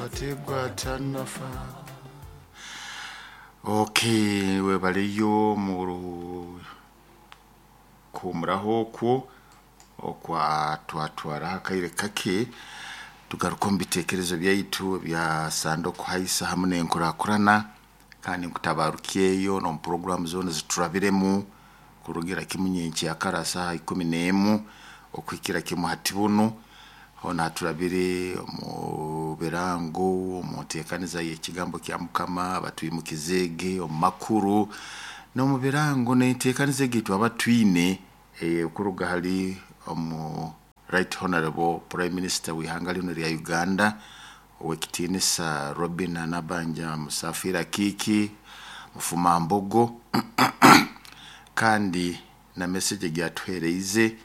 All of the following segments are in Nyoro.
Kategwa tanafa. Okay, webaleyo mu kuhumuraho okwo okwa twatwara akaire kake, tugaruka omu bitekerezo byaitu bya sande okuhaisa hamu n'enkurakurana. Kandi nkutabarukyeyo n'omu puroguramu zoona ziturabiremu kurugira kimu nyenkyakara saaha 11 okuhikira kimu hati bunu. Hoona haturabire omu birango, omu nteekaniza y'ekigambo kya Mukama, abatwimukizeege omu makuru n'omu birango n'enteekaniza egi twaba twine kuruga hali omu Right Honorable Prime Minister w'ihanga linu lya Uganda, ow'ekitiinisa Robina Nabanja Musafiri Akiiki Mufumambogo, kandi na message egi atuheereize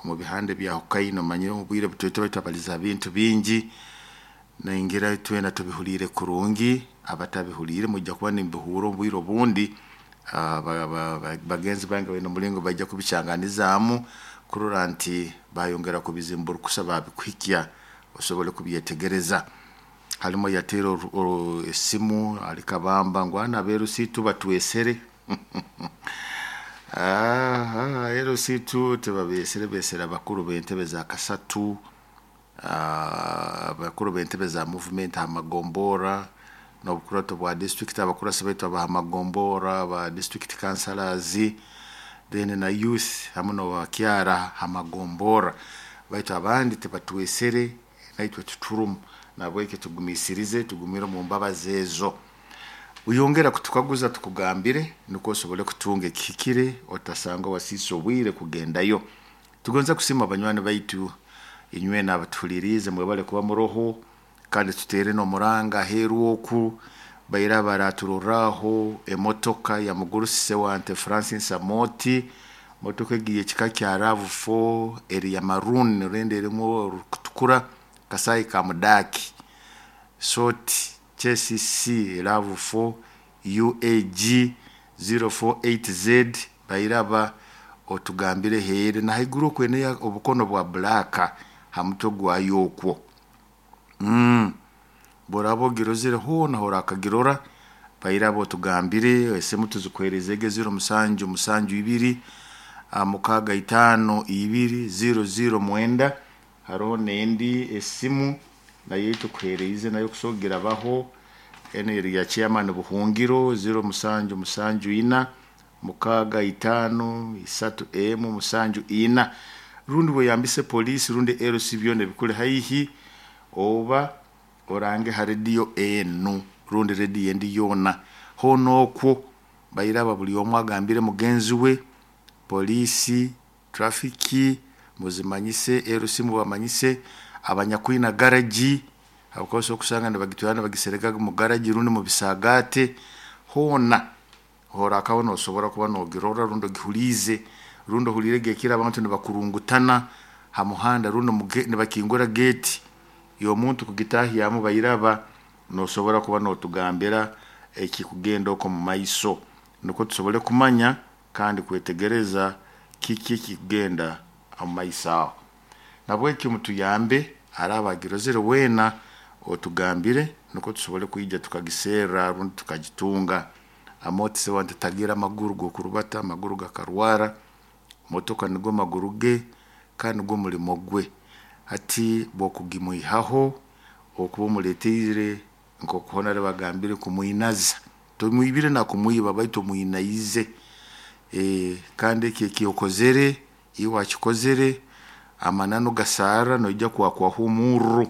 omu bihanda ebyahukaine. Omanyire omu bwire butwetwe twabaliza ha bintu bingi, ningira twena tubihuliire kurungi. Abatabihuliire mwija kuba nimubihuura omu bwire obundi. Bagenzi bange baine omulingo baija kubikyanganizaamu kurora nti bayongera kubizimburukusa, babikuhikya osobole kubyetegereza. Halimu ayateera esimu ali Kabamba ngu ana abeerusiitu batwesere. LC2 tibabeesere, beesere abakuru b'entebe za kasatu, abakuru b'entebe za movement ha magombora n'obukurato bwa district, abakurasi baitu abaha magombora, ba district councillors, then na youth hamu n'abakyara ha magombora, baitu abandi tibatwesere, naitwe titurumu. Nahabweki tugumiisirize, tugumire omu mbabazi ezo. Oyongera kutukaguza tukugambire nukwo osobole kutunga ekihikire, otasanga wasiisa obwire kugendayo. Tugonza kusiima banywani baitu inywena abatuhuliriize, mwebale kuba muroho. Kandi tuteere n'omuranga aheeru oku baira baraturorraho emotoka ya mugurusi Sewante Francis Amooti. Motoka egi y'ekika kya RAV4, eri ya maroon rundi erimu orukutukura, kasaayi ka mudaaki, soti KCC RAV4 UAG 048Z. Bairaba otugambire heeri na haiguru okwo eine obukono bwa black ha mutwe gwayo okwo. Bworaba ogirozere hoona horakagirora, bairaba otugambire. Esimu tuzikuheerezege 0772 652 009. Haroho n'endi esimu nayo tukuheereize, nayo kusobora kugirabaho. Enu eri ya chairman Buhungiro, 0774 65 3 1 74, rundi weyambise poliisi rundi LC byona ebikuli haihi, oba orange ha rediyo enu rundi rediyo endi yoona. Hoona okwo bairaba buli omu agambire mugenzi we, poliisi, trafiki muzimanyise, LC mubamanyise, abanyakwina garagi, habwokuba osobola kusanga nibagitwara nibagisereka mu garagi rundi mu bisaagaate. Hoona horakaba nosobora kuba nogirora rundi ogihuliize, rundi ohuliirege ekiro abantu nibakurungutana ha muhanda, rundi nibakingura geeti y'omuntu kugitahyamu, bairaba nosobora kuba notugambira ekikugenda okwo omu maiso, nukwo tusobole kumanya kandi kwetegereza kiki ekikugenda omu maiso aho. Nahabweki mutuyambe, araaba agirozere weena otugambire nukwo tusobole kwija tukagiserra rundi tukagitunga. Amooti Sewante tagira amaguru g'okurubata, amaguru gakarwara, motoka nigo maguru ge kandi nigwo mulimo gwe. Hati bw'okugimwihaho okuba omuleetiire nk'oku hoona bagambire kumwinaza, tomwibire nakumwiba baitu omwinaize. Kandi eki eki okozere, iwe wakikozere, amananu gasarra, noija kwakwaho omurro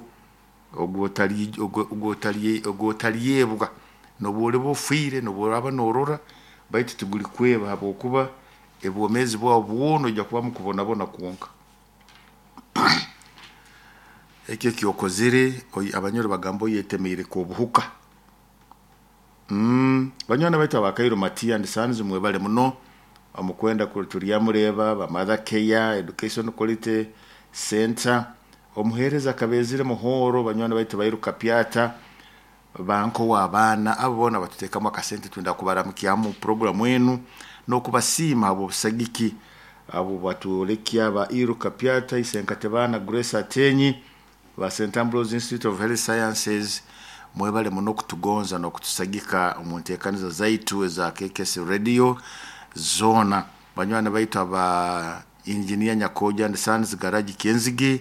ogwotalyebwa n'obu oliba ofiire, n'obu oraaba norora, baitu tigulikweba habwokuba obwomeezi bwawe bwona noija kuba mukubonabona kwonka. Eki eki okozere, Abanyoro bagamba oyetemere k'obuhuka. Banywani baitu aba Cairo Matia and Sons, mwebale muno omukwenda Turyamureeba, ba Mother Care Education Quality Center, omuheereza Kabezire Muhoro, banywani baitu bairu Kapyata, banko w'abaana, abo boona batuteekamu akasente. Twenda kubaramukyamu puroguramu enu n'okubasiima habw'obusagiki abo batwolekya ba Iru Kapyata, Isenkatebana Grace Atenyi. Ba St Ambrose Institute of Health Sciences, mwebale muno kutugonza n'okutusagika omu nteekaniza zaitu eza KKS Radio zoona. Banywani baitu aba Engineer Nyakoja and Sons Garage Kyenzige,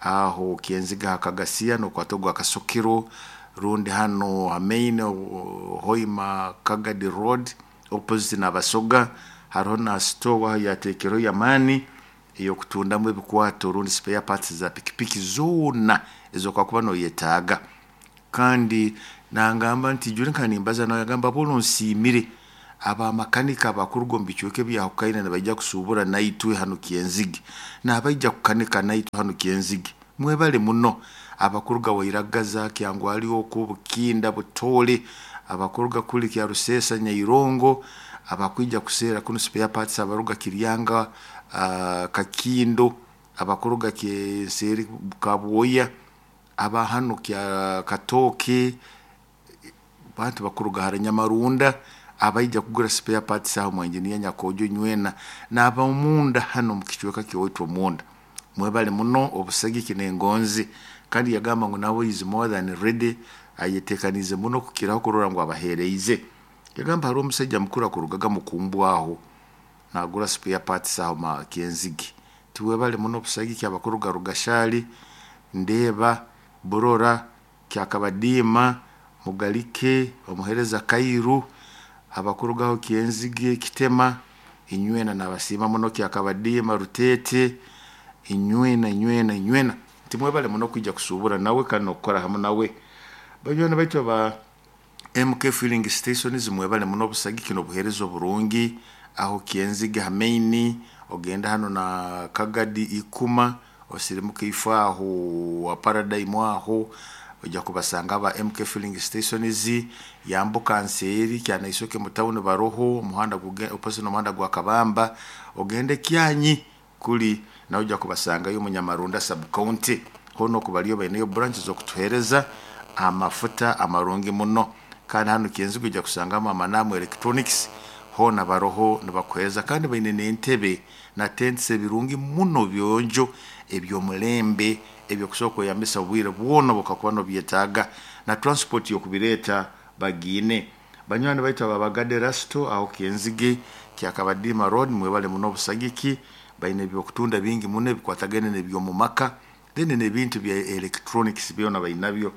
aho Kyenzige hakagasiya nokwata ogwa Kasokero rundi hano ha main Hoima Kagadi Road opposite n'Abasoga, hariho na store aho yateekerweho y'amaani ey'okutundamu ebikwato rundi spare parts za pikipiki zoona ez'okwakuba noyetaaga. Kandi nangamba nti juri nka nimbaza nawe yagamba boona nsiimire abamakanika abakuruga omu bicweka ebyahukaine nibaija kusuubura naitwe hanu Kyenzige, n'abaija kukanika naitwe hanu Kyenzige. Mwebale muno abakuruga Wairagaza, Kyangwali oku, Bukinda, Butoole, abakuruga kuli Kyaruseesa, Nyairongo, abakwija kuseera kunu spare parts abaruga Kiryanga, Kakindo, abakuruga Kyenseri Kabwoya, aba hanu kya Katooke, bantu bakuruga hara Nyamarunda, abaija kugura spare parts aho mwa Engineer Nyakojo nywena n'ab'omunda hanu omu kicweka ky'owaitu omunda. Mwebale muno obusagiki n'engonzi. Kandi yagamba ngu nawe is more than ready, ayeteekaniize muno kukiraho kurora ngu abaheereize. Yagamba hariho omusaija mukuru akurugaga Mukumbu aho naagura spare parts aho ma Kyenzige. Tiwebale muno obusagiki abakuruga Rugashari, Ndeeba, Burora, Kyakabadiima, Mugalike, omuheereza Kairu, abakurugaho Kyenzige, Kitema, inywena nabasiima muno Kyakabadiima, Ruteete, inywena inywena inywena. Timwebale muno kwija kusuubura nawe kandi n'okukora hamu nawe. Banywani baitu aba MK Filling Stations mwebale muno obusagiki n'obuheereza oburungi aho Kyenzige ha main, ogenda hano na Kagadi Ikuma, osirimuka ifo aho ha Paradigm aho ojja kubasanga aba MK Filling Stations, yambuka nseeri Kyanaisoke mu town baroho, omuhanda opposite n'omuhanda gwa Kabamba, ogende Kyanyi kuli nawe ojja kubasangayo omu Nyamarunda sub county. Hoona oku bariyo baineyo branch z'okutuheereza amafuta amarungi muno. Kandi hanu Kyenzige ojja kusangamu Amanamu Electronics, hoona baroho nibakuheereza kandi baine n'entebe na tents ebirungi muno byonjo eby'omulembe ebyokusobora kweyambisa obwire bwona obu okakuba nobyetaaga, na transport y'okubireeta bagiine. Banywani baitu aba Bagade Rasto aho Kyenzige Kyakabadiima Road mwebale muno obusagiki, baine ebyokutunda bingi muno ebikwatagaine n'eby'omu maka then n'ebintu bya electronics byona bainabyo.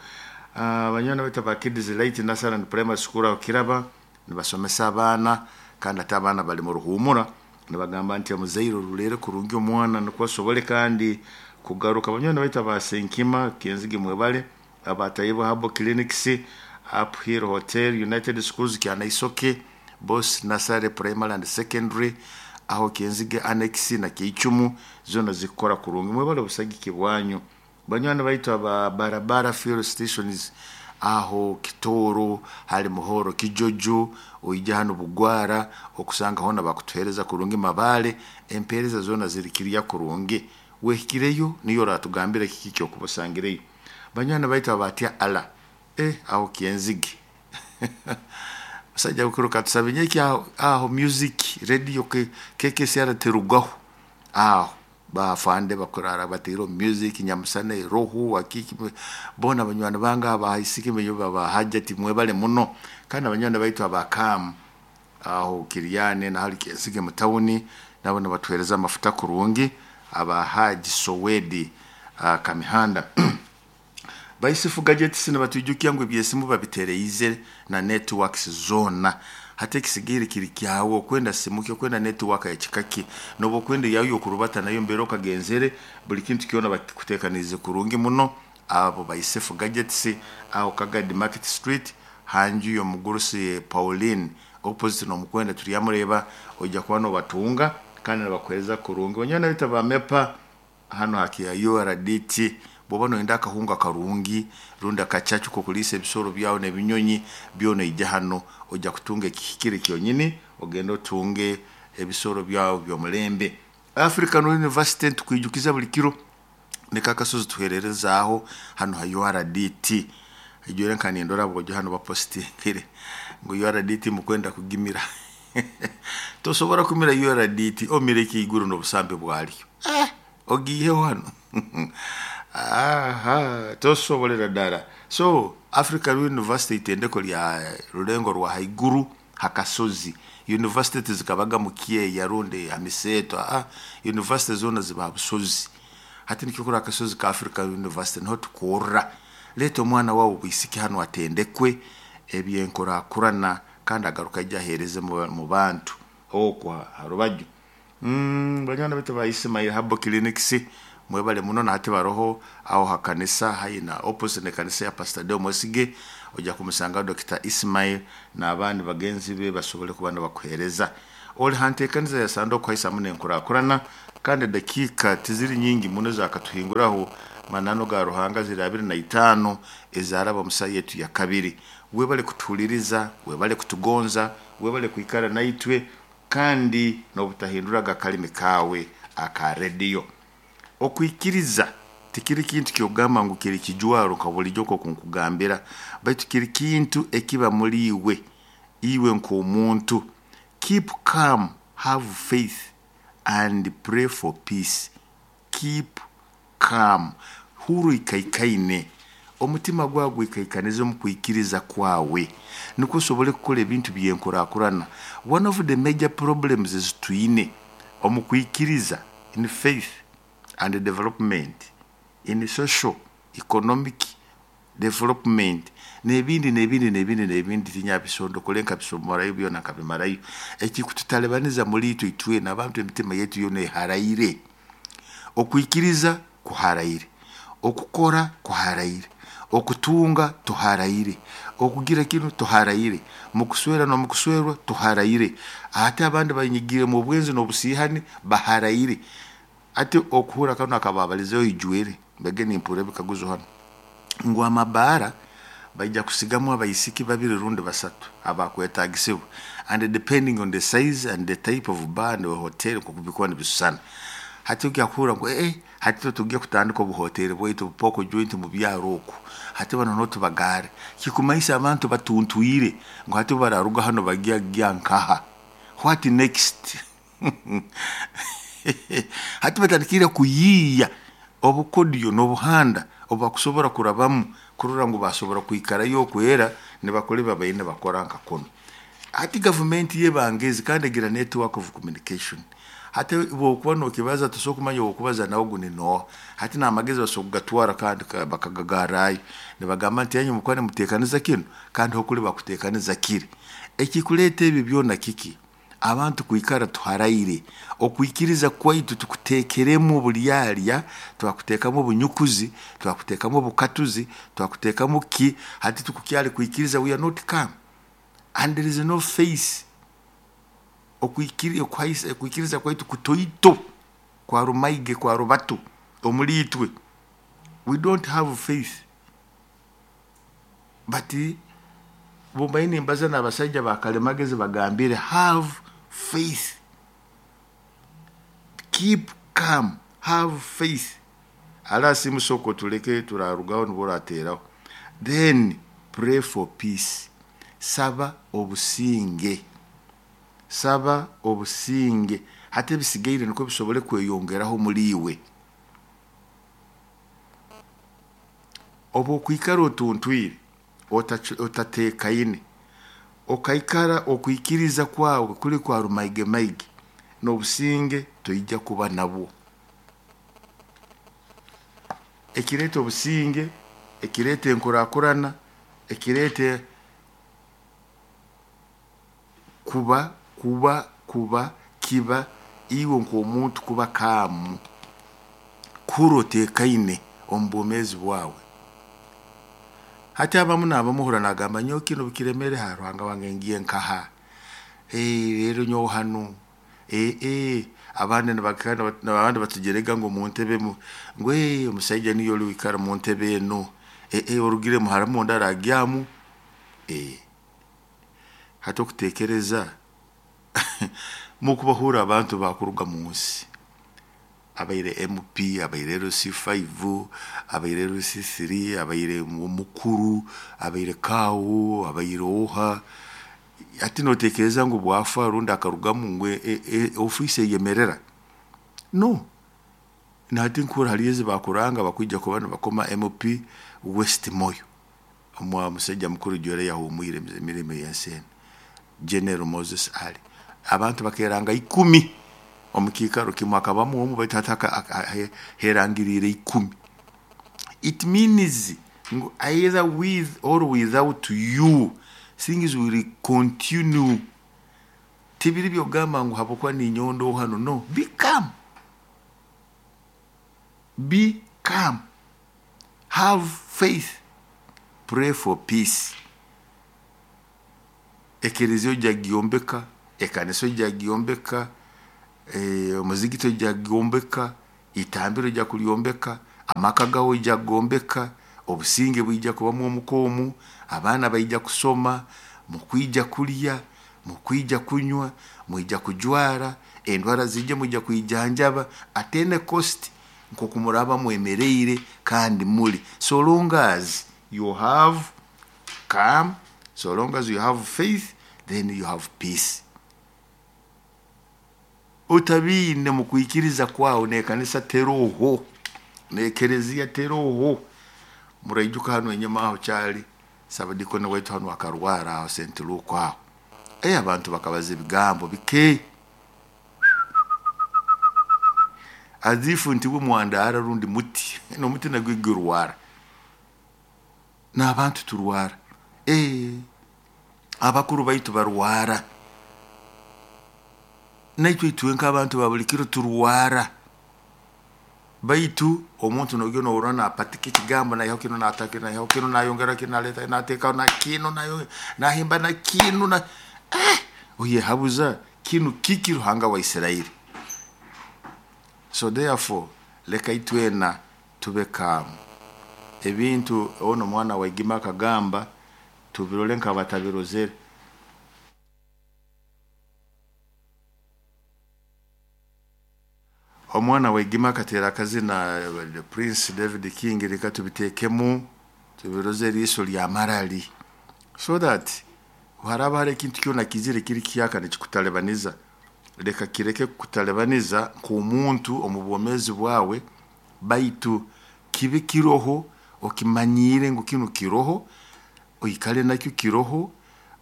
Banywani baitu aba Kids Light Nursery and Primary School aho Kiraba nibasomesa abaana kandi ate abaana bali mu ruhuumura nibagamba nti omuzaire oruleere kurungi omwana nukwo asobole kandi kugaruka. Banywani baitu aba Senkima Kyenzige mwebale, aba Taibwa Herbal Clinics, Uphill Hotel, United Schools Kyanaisoke, Boss Nursery Primary and Secondary, aho Kyenzige Annex na Keichumu zoona zikukora kurungi. Mwebale obusagiki bwanyu. Banywani baitu aba Barabara Fuel Stations aho Kitooro, hali Muhoro Kijojo, oija hanu Bugwara okusanga hoona bakutuheereza kurungi Mabaale, empeereza zoona ziri kiriya kurungi. Wehikireyo niyo oratugambira kiki ekyokuba osangireyo. Banywani baitu aba Tya Allah, aho Kyenzige. Musajja mukuru katusabe nyeki aho, aho music radio KKCR terugaho aho bafande bakurara bateireho music nyamusana eroho akiki boona banywani bange abahaisiki baba Hajati mwebale muno. Kandi abanywani baitu aba Kam aho Kiryane na hali Kyenzige mu town nabo nibatuheereza amafuta kurungi, aba Haji Sowedi Kamihanda. Baisifu Gadgets nibatwijukia ngu ebyesimu babitereize na networks zoona. Hati ekisigaire kiri kyawe okwenda simu ki, okwenda network ya kika ki, noba okwenda eyawe y'okurubata nayo mbere okagenzere, buli kintu kyona bakikuteekaniize kurungi muno. Abo Baisifu Gadgets aho Kagadi Market Street hanju y'omugurusi Pauline opposite n'omukwenda turyamureeba, ojja kuba nobatunga kandi nibakuheereza kurungi. Banywani baitu aba MEPA hanu ha URDT, bw'oba noyenda akahunga karungi rundi akacacu k'okuliisa ebisoro byawe n'ebinyonyi byona oija hanu ojja kutunga ekihikire kyonyini ogende otunge ebisoro byawe by'omulembe. African University nitukwijukiza buli kiro niko akasozi tuheererezaaho hanu ha URDT. Ijwire nka nindora bwojo hanu bapositingire ngu URDT mukwenda kugimira. Tosobora kumira URDT omire ekiiguru n'obusambi bwalyo. Ogiiheho hanu. Aha, tosobolera ddala. So Africa University itendeko lya rulengo rwa haiguru hakasozi. University tizikabaga mu Kyeya rundi hamiseeto. University zoona ziba busozi. Hati nikyo kuri akasozi ka Africa University niho tukorra. Leeta omwana wawe obwisiki hanu atendekwe ebyenkurakurana kandi agaruka aije aheereze mu bantu okwo ha rubaju. Banywani baitu ba Ismail Herbal Clinics mwebale muno, na hati baroho aho ha kanisa haihi na opposite n'ekanisa ya Pastor Deo Mwesige. Ojja kumusangaho Dr. Ismail n'abandi bagenzi be basobole kuba nibakuheereza. Oli ha nteekaniza ya Sande okuhaisa n'enkurakurana, kandi edakiika tiziri nyingi muno ezakatuhinguraho. Mananu ga Ruhanga ziri 25 ezaraba omu saaha yetu ya kabiri. Webale kutuhuliriza, webale kutugonza, webale kwikara naitwe, kandi n'obutahinduraga akalimi kaawe aka rediyo. Okwikiriza tikiri kintu kyogamba ngu kiri kijwaro nka bulijjo nk'oku nkugambira, baitu kiri kintu ekiba muri iwe, iwe nk'omuntu. Keep calm, have faith and pray for peace. Keep calm, hurra oikaikaine, omutima gwawe gwikaikanize omu kwikiriza kwawe, nukwo osobole kukora ebintu by'enkurakurana. One of the major problems ezitwine omu kwikiriza, in faith and development, in social economic development, n'ebindi n'ebindi n'ebindi n'ebindi, tinyabisondokole nkabisomerayo byona nkabimarayo. Ekikututalibaniza muri itwe itwena abantu, emitima yaitu yoona eharaire. Okwikiriza kuharaire, okukora kuharaire, okutunga tuharaire, okugira kinu tuharaire, mukuswera n'omukuswerwa tuharaire. Ate abandi banyigire mu bwenzi n'obusiihani baharaire. Ati okuhurra kanu akababalizeho ijwire, mbege nimpurra ebikaguzo hanu ngu amabaara baija kusigamu abaisiki babiri rundi basatu abakwetaagisibwa, and depending on the size and the type of bar and hotel nk'oku bikuba nibisusana. Hati ojya kuhurra ngu hati itwe tujya kutandika obuhoteri bwaitu obu pork joint mu byaro oku, hati banu noho tubagaare. Kikumanyisa abantu batuntwire ngu hati obu bararuga hanu bagya gya nkaha? What next? Hati batandikire kuyiiya obukodyo n'obuhanda obu bakusobora kurabamu kurora ngu basobora kwikarayo okwera nibakora ebi babaire nibakora nka kunu. Hati gavumenti y'ebangezi kandi egira network of communication. Hati bw'okuba nokibaza tosobora kumanya ow'okubaza nawe ogu ni nooha. Hati n'amagezi basobora kugatwara kandi bakagagarrayo nibagamba nti inywe mukuba nimuteekaniza kinu kandi hokuli bakuteekaniza kiri. Ekikuleeta ebi byona kiki? Abantu kwikara tuharaire. Okwikiriza kwaitu tukuteekeremu oburyarya, twakuteekamu obunyukuzi, twakuteekamu obukatuzi, twakuteekamu ki, hati tukukyali kwikiriza, we are not calm and there is no faith. Okwikiriza kwaitu kutoito, kwa rumaige, kwa rubatu omuri itwe. We don't have faith. But bumbaire nimbaza n'abasaija ba kalimagezi bagambire, have faith. Keep calm, have faith. Ala simu soko tuleke turarugaho nibwo orateeraho. Then pray for peace. Saba obusinge. Saba obusinge. Hati ebisigaire nikwo bisobole kweyongeraho muri iwe. Obu okwikara otuntwire, otateekaine, okaikara okwikiriza kwawe kuri kwa rumaigemaige, n'obusinge toija kuba nabwo. Ekireeta obusinge, ekireeta enkurakurana, ekireeta kuba kuba kuba kiba iwe nk'omuntu kuba calm, kuhurra oteekaine omu bwomeezi bwawe. Hati abamu n'abamu ohurra naagamba nyowe kinu bukiremere, ha Ruhanga wange ngiye nkaha? Rero nyowe hanu, abandi abandi batujerega ngu omu ntebe ngu omusaija niyo oli wikara mu ntebe enu, orugiremu harimu ondi aragyamu. Hati okuteekereza mukubahurra abantu bakuruga mu nsi, abaire MP, abaire LC5, abaire LC3, abaire omukuru, abaire kaawu, abaire oha, hati noteekereza ngu bwafa rundi akarugamu ngu ofiisi eyemerera? No. Nahati nkuhurra haliyo ezi bakuranga bakwija kuba nibakoma MP West Moyo, omusaija mukuru jwera yahumwire emirimo y'ensi enu, General Moses Ali. Abantu bakeranga 10 omu kiikaro kimu, hakabamu omu baitu hati herangiriire 10. It means ngu either with or without you, things will continue. Tibiri by'okugamba ngu habwokuba ninyowe ndoho hanu, no, be calm. Be calm. Have faith. Pray for peace. Ekereziya ojja kugyombeka, ekanisa ojja kugyombeka, omuzigiti ojja kugwombeka, itambiro ojja kulyombeka, amaka gawe ojja kugombeka, obusinge bwija kubamu omuka omu, abaana baija kusoma, mukwija kulya, mukwija kunywa, mwija kujwara, endwara ziije mwija kwijanjaba at any cost nk'oku muraaba mwemereire kandi muli. So long as you have calm, so long as you have faith, then you have peace. Otabiine mu kwikiriza kwawe n'ekanisa teroho, n'ekereziya teroho. Muraijuka hanu enyuma aho kyali sabadikoni waitu hanu akarwara aho St. Luke aho. Abantu bakabaza ebigambo bike. Azifu nti we mwandara rundi muti, n'omuti nagwo gurwara. N'abantu turwara. Abakuru baitu barwara. Naitwe itwe nk'abantu ba buli kiro turwara. Baitu omuntu nogenda nohurra napatika ekigambo naihaho kinu naata kinu naihaho kinu nayongera kinu naleeta nateekaho na kinu nahimba na kinu na oyehabuza kinu kiki Ruhanga wa Isirairi. So therefore leka itwena tube calm. Ebintu ono omwana wa Igima akagamba tubirole nk'abatabirozere. Omwana wa Igima akateera akazina Prince David King, reka tubitekemu tubiroze eriiso lya marali, so that haraba hari ekintu kyona kizire kiri kihyaka nikikutalibaniza, leka kireke kukutalibaniza nk'omuntu omu bwomeezi bwawe, baitu kibe kiroho okimanyiire ngu kinu kiroho, oikale nakyo kiroho,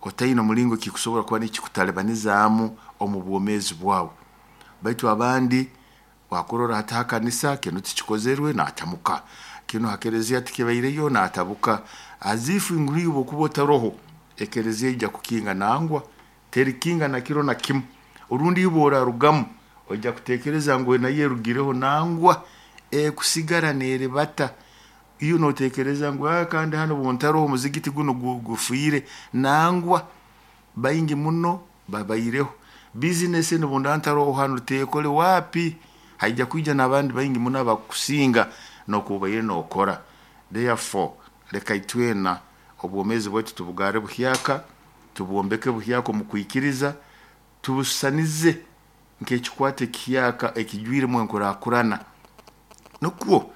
otaine omulingo kikusobora kuba nikikutalibanizaamu omu bwomeezi bwawe. Baitu abandi wakurora hati ha kanisa kinu tikikozerwe naatamuka, kinu ha kereziya tikibaireyo naatabuka, azifu ngu iwe obukuba otaroho ekereziya ija kukinga nangwa, terikinga na kiro na kimu. Orundi iwe orarugamu ojja kutekereza ngu nayo erugireho, nangwa ekusigara neribata. Iyo notekereza ngu kandi hanu obuntaroho omuzigiti guno gufiire, nangwa baingi muno babaireho. Bizinesi enu obunda ntaroho hanu tekole wapi, haija kwija n'abandi baingi muno abakusinga n'okuba nokora. Therefore leka itwena obwomeezi bwaitu tubugarre buhyaka, tubwombeke buhyaka omu kwikiriza, tubusisanize nk'ekikwate ekihyaka ekijwiremu enkurakurana, nukwo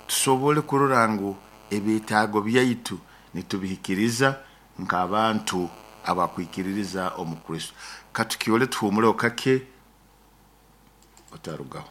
tusobole kurora ngu ebyetaago byaitu nitubihikiriza nk'abantu abakwikiririza omu Kristo. Katukyole tuhumuleho kake, otarugaho.